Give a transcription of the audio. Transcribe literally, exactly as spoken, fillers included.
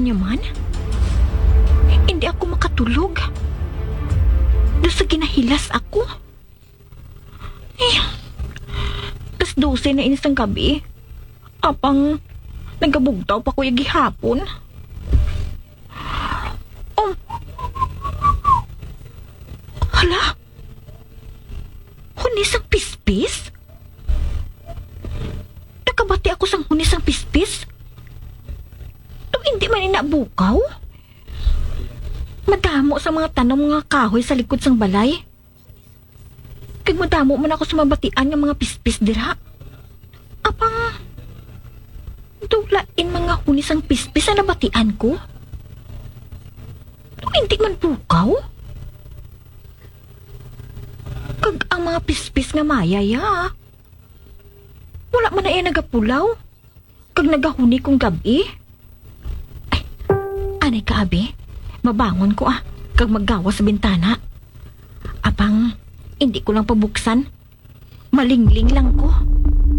Nya man, hindi ako makatulog. Daw sa ginahilas ako. Eh, alas dose na ini sang gabi. Apang nagabugtaw pa ko gihapon. Um, hala? Huni sang pispis? Nakabati ako sang huni sang pispis? Daw hindi man ina bukaw? Madamo sa mga tanom nga kahoy sa likod sang balay. Kag madamo man ako sa mabatian nga mga pispis dira. Apang, daw lain mga huni sang pispis ang nabatian ko. Daw hindi man bukaw. Kag ang mga pispis nga mayay, ha? Wala man na iya nagapulaw. Kag nagahuni kung gab-i. Ay, anay ka, abi. Mabangon ko, ah, kag maggawas sa bintana. Apang, hindi ko lang pabuksan. Malingling lang ko.